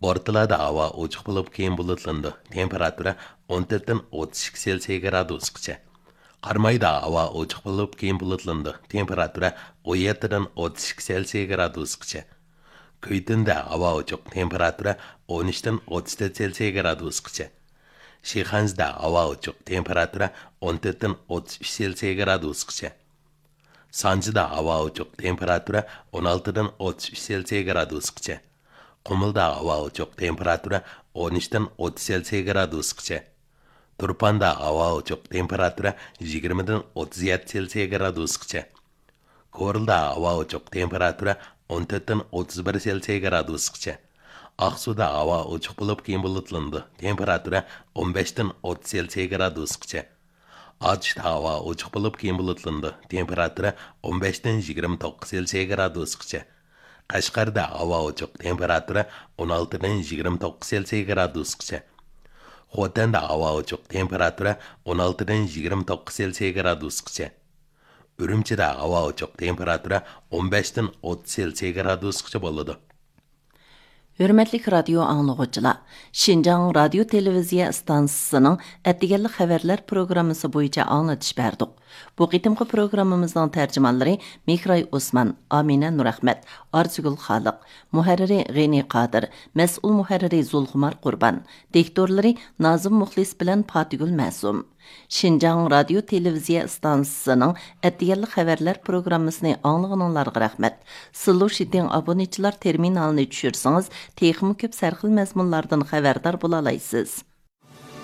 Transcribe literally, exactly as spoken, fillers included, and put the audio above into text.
بورتالادا ھاۋا ئوچۇق بولۇپ، كېيىن بۇلۇتلىنىدۇ. تېمپېراتۇرا ئون تۆتتىن ئوتتۇز ئىككى سېلسىيە گرادۇسقىچە. قارامايدا ھاۋا ئوچۇق بولۇپ، كېيىن بۇلۇتلىنىدۇ. تېمپېراتۇرا ئون يەتتىدىن ئوتتۇز ئىككى سېلسىيە گرادۇسقىچە. كۈيتۈندە ھاۋا ئوچۇق، تېمپېراتۇرا ئون ئۈچتىن ئوتتۇز تۆت سېلسىيە گرادۇسقىچە. شىخەنزىدە ھاۋا ئوچۇق، تېمپېراتۇرا ئون تۆتتىن ئوتتۇز ئۈچ سېلسىيە گرادۇسقىچە. سانجىدا ھاۋا ئوچۇق، تېمپېراتۇرا ئون ئالتىدىن ئوتتۇز ئۈچ سېلسىيە گرادۇسقىچە. قۇمۇلدا ھاۋا ئوچۇق، تېمپېراتۇرا ئون ئۈچتىن ئوتتۇز سېلسىيە گرادۇسقىچە. تۇرپاندا ھاۋا ئوچۇق، تېمپېراتۇرا يىگىرمىدىن ئوتتۇز يەتتە سېلسىيە گرادۇسقىچە. كورلىدا ھاۋا ئوچۇق، تېمپېراتۇرا ئون تۆتتىن ئوتتۇز بىر سېلسىيە گرادۇسقىچە. ئاقسۇدا ھاۋا ئوچۇق بولۇپ، كېيىن بۇلۇتلىنىدۇ. تېمپېراتۇرا ئون بەشتىن ئوتتۇز سېلسىيە گرادۇسقىچە. ئاتۇشتا ھاۋا ئوچۇق بولۇپ، كېيىن بۇلۇتلىنىدۇ. تېمپېراتۇرا ئون بەشتىن يىگىرمە توققۇز سېلسىيە گرادۇسقىچە. قەشقەردە ھاۋا ئوچۇق، تېمپېراتۇرا ئون ئالتىدىن يىگىرمە توققۇز سېلسىيە گرادۇسقىچە. خوتەندە ھاۋا ئوچۇق، تېمپېراتۇرا ئون ئالتىدىن يىگىرمە توققۇز سېلسىيە گرادۇسقىچە. ئۈرۈمچىدە ھاۋا ئوچۇق، تېمپېراتۇرا ئون بەشتىن ئوتتۇز سېلسىيە گرادۇسقىچە بولىدۇ. ھۆرمەتلىك رادىيو ئاڭلىغۇچىلار، شىنجاڭ رادىيو تېلېۋىزىيە ئىستانسىسىنىڭ ئەتىگەنلىك خەۋەرلەر پروگراممىسى بويىچە ئاڭلىتىش بەردۇق. بۇ قېتىمقى پروگراممىمىزنىڭ تەرجىمانلىرى مېھراي ئوسمان، ئامىنە نۇرئەخمەت، ئارزۇگۈل خالىق، مۇھەررىرى غېنى قادىر، مەسئۇل مۇھەررىرى زۇلخۇمار قۇربان، دىكتورلىرى نازىم مۇخلىس بىلەن پاتىگۈل مەسۇم. شىنجاڭ رادىيو تېلېۋىزىيە ئىستانسىسىنىڭ ئەتىگەنلىك خەۋەرلەر پروگراممىسىنى ئاڭلىغىنىڭلارغا رەھمەت. سىلۇشىتىڭ ئابۇنىچىلار تېرمىنالىنى چۈشۈرسىڭىز، تېخىمۇ كۆپ سەرخىل مەزمۇنلاردىن خەۋەردار بولالايسىز.